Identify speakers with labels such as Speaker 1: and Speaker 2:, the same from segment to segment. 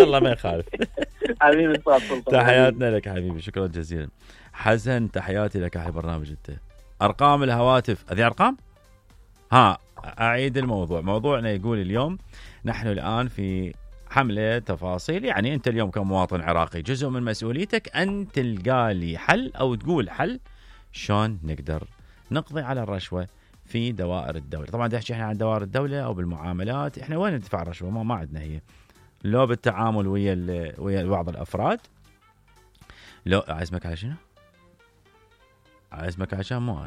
Speaker 1: الله ما يخالف.
Speaker 2: حبيبي سلطان.
Speaker 1: تحياتنا لك حبيبي، شكرا جزيلا. حسن تحياتي لك على البرنامج. انت ارقام الهواتف، هذه ارقام. اعيد الموضوع. موضوعنا يقول اليوم نحن الان في حملة تفاصيل. يعني انت اليوم كمواطن عراقي جزء من مسؤوليتك ان تلقى لي حل او تقول حل شلون نقدر نقضي على الرشوة في دوائر الدولة. طبعا تحكي احنا عن دوائر الدولة او بالمعاملات، احنا وين ندفع الرشوة؟ ما عندنا هي. لو بالتعامل ويا بعض الافراد. لو عزمك على شنو؟ عزمك عشان مو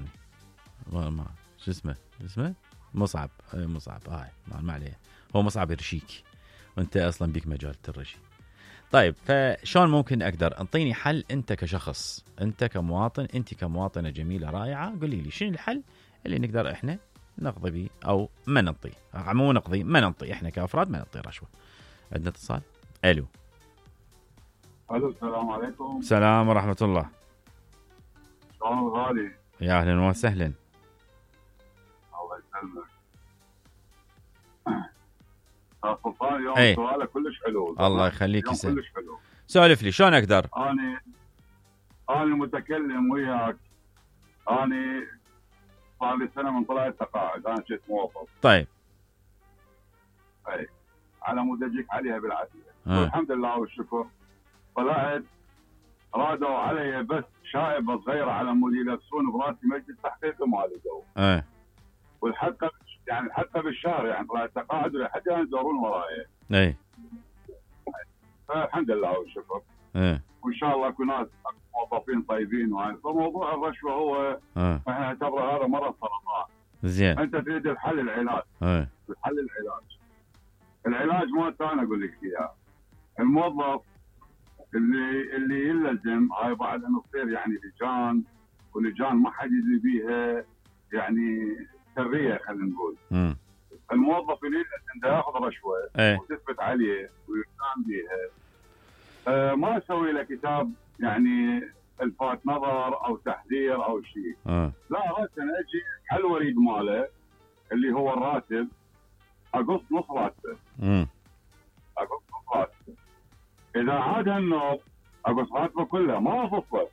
Speaker 1: انا ما شو اسمه مصعب. هاي ما عليه، هو مصعب يرشيك وانت اصلا بيك مجال ترشي. طيب فشون ممكن اقدر انطيني حل انت كشخص، انت كمواطن، انت كمواطنة جميلة رائعة، قولي لي شنو الحل اللي نقدر احنا نقضي به او ما ننطي. مو نقضي، ما ننطي، احنا كافراد ما ننطي رشوة. عندنا اتصال. الو
Speaker 3: السلام عليكم.
Speaker 1: السلام ورحمة الله.
Speaker 3: شلون غالي؟
Speaker 1: يا اهلا وسهلا.
Speaker 3: الله يسلمك. سلطان اليوم سؤالك كلش حلو.
Speaker 1: الله يخليك يسلمك.
Speaker 3: كلش حلو.
Speaker 1: سولف لي شلون اقدر.
Speaker 3: انا متكلم وياك. انا صار لي سنه من طلعت تقاعد، انا كنت موظف.
Speaker 1: طيب.
Speaker 3: اي على مود اجيك عليها بالعافيه. والحمد لله والشكر. طلعت رادوا علي بس شائبه صغيره على مود يلبسون براسي مجلس تحقيق وما لقوا. والحلقه يعني الحلقه بالشهر، يعني طلعت تقاعد لحد الان يدورون وراي.
Speaker 1: اي
Speaker 3: فالحمد لله والشكر. وان شاء الله يكون ناس موظفين طيبين. وهاي فموضوع الرشوه هو احنا نعتبره هذا مرض سرطان.
Speaker 1: زين.
Speaker 3: انت تريد الحل العلاج. الحل العلاج ما انا اقول لك اياه. الموظف اللي يلزم هاي بعد انه تصير يعني لجان، ولجان ما حد يدري بيها، يعني سريه خلينا نقول. الموظف اللي يلزم ده ياخذ رشوه وتثبت عليه ويقام بيها، ما اسوي له كتاب يعني الفات نظر او تحذير او شيء. لا، راسا اجي على الوريد ماله اللي هو الراتب، اقص نص راتبه. اقص نص راتبه. اذا عاد هالنوب اقص راتبه كله، ما افصله.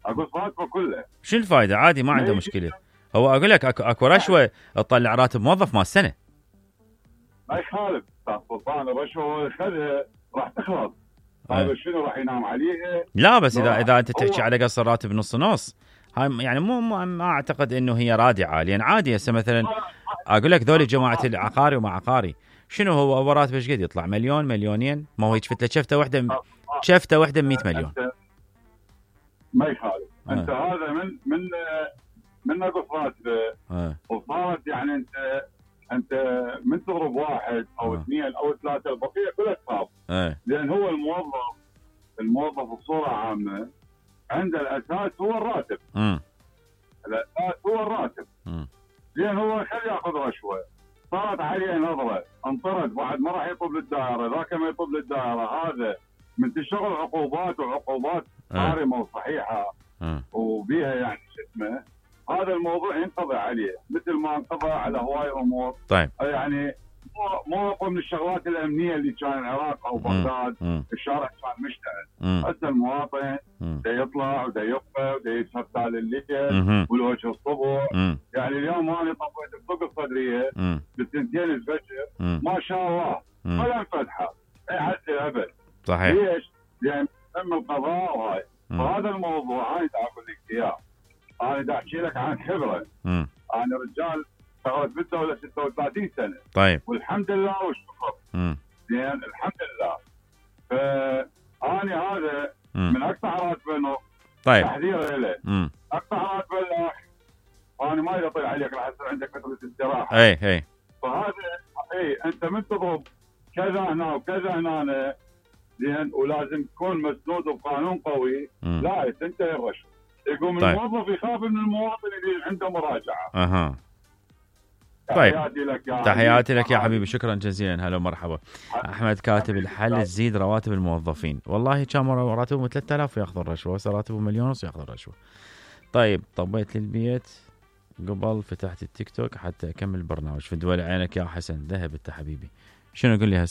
Speaker 3: اقص راتبه كله.
Speaker 1: شو الفائده؟ عادي ما عنده مشكله. هو اقول لك اكو رشوه تطلع راتب موظف مال السنه.
Speaker 3: ما يخالف سلطان، الرشوه خذها راح تخلص. هذا شنو راح ينام عليها؟
Speaker 1: لا بس اذا انت تحكي على قص الراتب نص هاي يعني ما اعتقد انه هي رادعه. لان عادي هسه مثلا اقول لك ذولي جماعه العقاري وما عقاري، شنو هو راتبه ايش قد يطلع؟ مليون مليونين؟ ما هو يشفت له شفته وحده 100 مليون.
Speaker 3: ما يخالف. انت هذا من نقص راتبه وصارت يعني انت من تضرب واحد او اثنين او ثلاثه، البقيه كلها تصاب. لان هو الموظف بصوره عامه عند الاساس هو الراتب. الاساس هو الراتب. لان هو خلي ياخذ رشوه، صارت عليه نظره، انطرد بعد ما راح يطب للدائره، ذاك ما يطب للدائره، هذا من تشتغل عقوبات صارمه وصحيحه وبيها يعني شو اسمه، هذا الموضوع ينقضي عليه مثل ما انقضى على هواي امور.
Speaker 1: طيب
Speaker 3: يعني مو من الشغلات الامنيه اللي كان العراق او بغداد الشارع كان مشتعل. هسه المواطن دا يطلع ودا يبقى ودا يتفتى لليل والوجه الصبح. يعني اليوم انا طفيت السوق الصدريه بالسنتين الفجر ما شاء الله ولا انفتحه اي حتى ابد.
Speaker 1: صحيح.
Speaker 3: ليش؟ يعني تم القضاء وهاي. فهذا الموضوع انا دا اقول لك اياه، انا دا احكي لك عن خبره. انا رجال اشتغلت بالدوله 36 سنه.
Speaker 1: طيب.
Speaker 3: والحمد لله والشكر. زين الحمد لله. فاني هذا من اقطع راتبه نص.
Speaker 1: طيب.
Speaker 3: تحذير له. اقطع راتبه الاخ، انا ما يطيع عليك راح يصير عندك فتره استراحه.
Speaker 1: اي
Speaker 3: فهذا انت من تضرب كذا هنا وكذا هنا، زين، ولازم تكون مسنود بقانون قوي. لا تنتهي الرشوه. يقوم طيب. الموظف يخاف من المواطن اللي عنده مراجعه.
Speaker 1: طيب تحياتي لك يا حبيبي، شكرا جزيلا. هلا ومرحبا. احمد كاتب الحل تزيد رواتب الموظفين. والله كان راتبهم 3000 وياخذ الرشوه، هسه راتبهم 1.5 مليون وياخذ الرشوه. طيب طبيت للبيت قبل فتحت التيك توك حتى اكمل البرنامج. في دول عينك يا حسن ذهب انت حبيبي. شنو اقول لي هسه؟